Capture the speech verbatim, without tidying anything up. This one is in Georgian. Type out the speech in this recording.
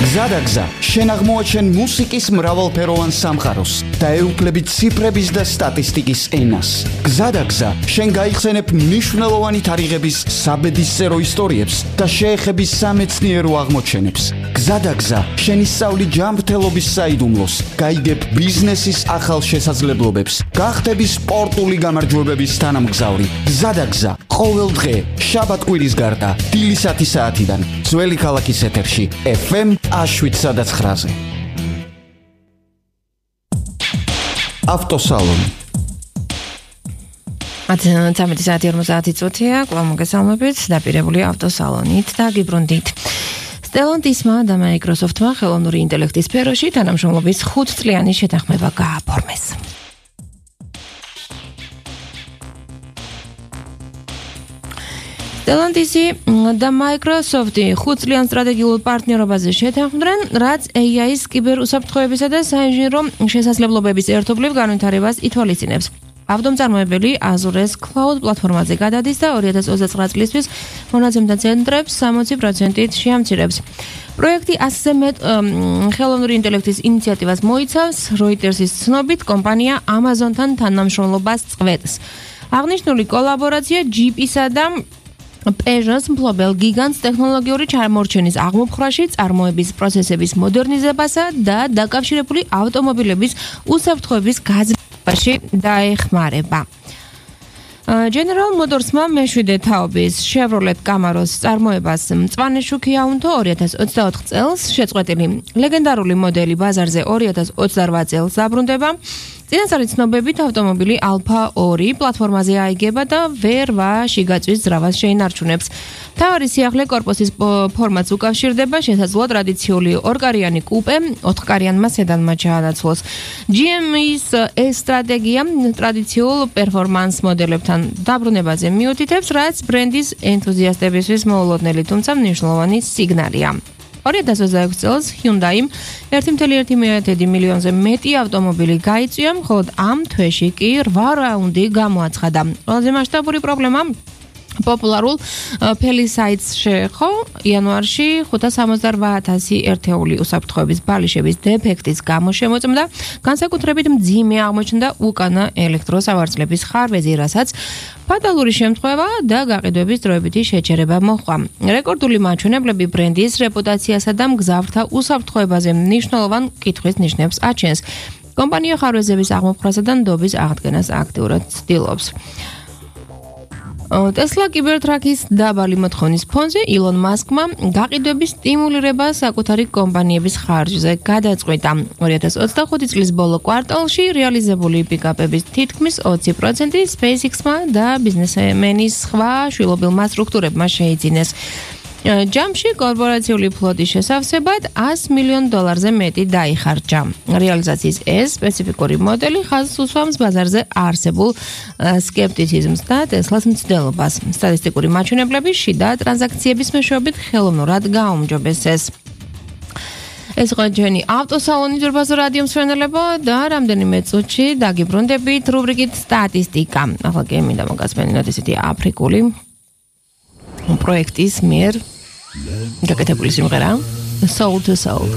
გზადაგზა, შენ აღმოაჩენ მუსიკის მრავალფეროვან სამყაროს და ეუფლებით ციფრების და სტატისტიკის ენას. გზადაგზა, შენ გაიხსენებ მნიშვნელოვანი თარიღების საბედისწერო ისტორიებს და შეეხები სამეცნიერო აღმოჩენებს. გზადაგზა, შენ ისწავლი ჯანმრთელობის საიდუმლოს, გაიგებ ბიზნესის ახალ შესაძლებლობებს, გახდები სპორტული გამარჯვებების თანამგზავრი. გზადაგზა, ყოველ დღე, შაბათ-კვირის გარდა, დილისათი საათიდან, ძველი ქალაქის ეთერში, ეფ ემ შვიდ ცხრაზე. ავტოსალონი. ათი საათი ორმოცდაათი წუთია, კვლავ მოგესალმებით, დაპირებული ავტოსალონით და გიბრუნდით. Stellantis-მა და Microsoft-მა ხელოვნური ინტელექტის სფეროში თანამშრომლობის ხუთწლიანი შეთანხმება გააფორმეს. Stellantis-ი და Microsoft-ი ხუთწლიან სტრატეგიულ პარტნიორობაზე შეთანხმდნენ, რაც ეი აის კიბერუსაფრთხოებისა და საინჟინრო შესაძლებლობების ერთობლივ განვითარებას ითვალისწინებს. ავტომწარმოებელი Azure-ს Cloud პლატფორმაზე გადადის და ორი ათას ოცდაცხრა წლისთვის მონაცემთა ცენტრებს სამოცი პროცენტით შეამცირებს. პროექტი ასზე მეტ ხელოვნური ინტელექტის ინიციატივას მოიცავს, Reuters-ის ცნობით, კომპანია Amazon-თან თანამშრომლობას წყვეტს. აღნიშნული კოლაბორაცია ჯიპ-ისა და Peugeot-ს მფლობელ გიგანტს ტექნოლოგიური ჩამორჩენის აღმოფხრაში, წარმოების პროცესების მოდერნიზებასა და დაკავშირებული ავტომობილების უსაფრთხოების გაძლიერებაში დაეხმარება. General Motors-მა მეშვიდე თაობის Chevrolet Camaro-ს წარმოებას მწვანე შუქი აუნთო ორი ათას ოცდაოთხ წელს, შეწყვეტილი ლეგენდარული მოდელი ბაზარზე ორი ათას ოცდარვა წელს დაბრუნდება. წინასწარი ცნობებით ავტომობილი Alpha ორი პლატფორმაზე აიგება და ვერვა შიგაწვის ძრავას შეინარჩუნებს. მთავარი სიახლე კორპუსის ფორმატს უკავშირდება, შესაძლოა ტრადიციული ორკარიანი კუპე ოთხკარიანმა სედანმა ჩაანაცვლოს. ჯი ემ-ის სტრატეგია ტრადიციულ პერფორმანს მოდელებთან დაბრუნებაზე მიუთითებს, რაც ბრენდის ენთუზიასტებისთვის მოულოდნელი, თუმცა მნიშვნელოვანი სიგნალია. ორი ათას ოცდაექვსი წელს Hyundai-მ ერთი კoma ერთი მილიონზე მეტი ავტომობილი გაიწვია, ხოლო ამ თვეში კი რვა რაუნდი გამოაცხადა. ყველაზე მასშტაბური პრობლემა პოპულარულ Palisades შეეხო იანვარში ხუთას სამოცდარვა ათასი ერთეული უსაფრთხოების ბალიშების დეფექტის გამო შემოწმდა, განსაკუთრებით მძიმე აღმოჩნდა უკანა ელექტროსავარძლების ხარვეზი, რასაც ფატალური შემთხვევა და გაყიდვების დროებითი შეჩერება მოჰყვა. რეკორდული მაჩვენებლები ბრენდის რეპუტაციასა და მგზავრთა უსაფრთხოებაზე მნიშვნელოვან კითხვის ნიშნებს აჩენს. კომპანია ხარვეზების აღმოფხრასა და ნდობის აღდგენას აქტიურად ცდილობს. Tesla კიბერტრაქის დაბალი მოთხოვნის ფონზე Elon Musk-მა გაყიდვების სტიმულირება საკუთარი კომპანიების ხარჯზე გადაწყვიტა. ორი ათას ოცდახუთი წლის ბოლო კვარტალში რეალიზებული პიკაპების თითქმის ოცი პროცენტი SpaceX-მა და ბიზნესმენის სხვა შვილობილმა სტრუქტურებმა შეიძინეს. ჯამში კორპორაციული ფლოტის შესავსებად ასი მილიონ დოლარზე მეტი დაიხარჯა. რეალიზაციის ეს სპეციფიკური მოდელი ხაზს უსვამს ბაზარზე არსებულ სკეპტიციზმს და Tesla-ს მცდელობას. სტატისტიკური მაჩვენებლები შიდა ტრანზაქციების მეშვეობით ხელოვნურად გააუმჯობესეს. ეს იყო ჩვენი ავტოსალონი ძვირფასო რადიო მსმენელებო და რამდენიმე წუთში დაგიბრუნდებით რუბრიკით სტატისტიკა. ახლა კი მინდა მოგასმენინოთ ესეთი აფრიკული პროექტის მიერ გაკეთებული სიმღერა Soul to Soul.